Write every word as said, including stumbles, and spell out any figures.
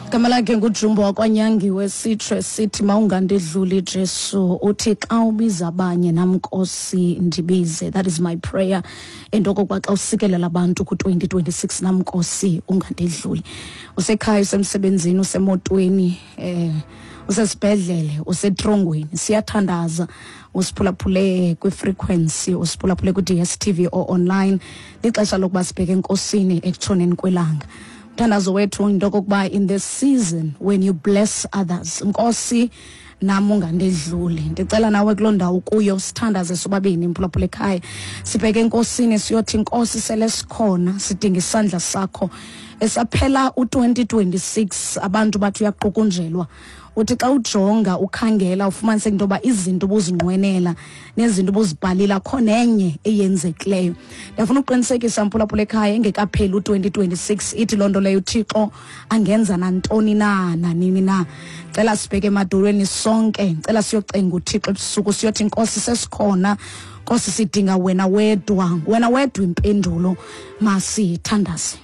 Igama lakhe nguJumbo wakwanyangiwe, sitsho esithi mawungandidluli Jesu. Uthi xa ubiza abanye, nam Nkosi ndibize. That is my prayer, into okokuba xa usikelela abantu ku-twenty twenty-six, nam Nkosi ungandidluli. Usekhaya, usemsebenzini, usemotweni, eh usesibhedlele, usetrongweni, siyathandaza. Usiphulaphule kwi-frequency, usiphulaphule kwi-D S T V or online, lixesha lokuba sibheke enkosini ekutshoneni kwelanga. Umthandazo wethu into okokuba in this season when you bless others, Nkosi nam ungandedluli. Ndicela nawe kuloo ndawo kuyo sithandaze sobabini, mphulaphula ekhaya, sibheke enkosini, siyothi, "Nkosi, sele sikhona, sidinga isandla sakho." Esaphela u-twenty twenty-six, abantu bathi uyaqukunjelwa. Uthi xa ujonga, ukhangela, ufumaniseke into yoba izinto ubuzinqwenela nezinto ubuzibhalile, akho nenye eyenzekileyo. Ndiyafuna ukuqinisekisa, mphulaphula ekhaya, engekapheli u-twenty twenty-six, ithi loo nto leyo uThixo angenza nantoni na, nanini na. Cela sibheke emadolweni sonke, cela siyocenga uThixo ebusuku, siyothi, "Nkosi, sesikhona. Nkosi, sidinga wena wedwa, wena wedwa impendulo." Masithandaze.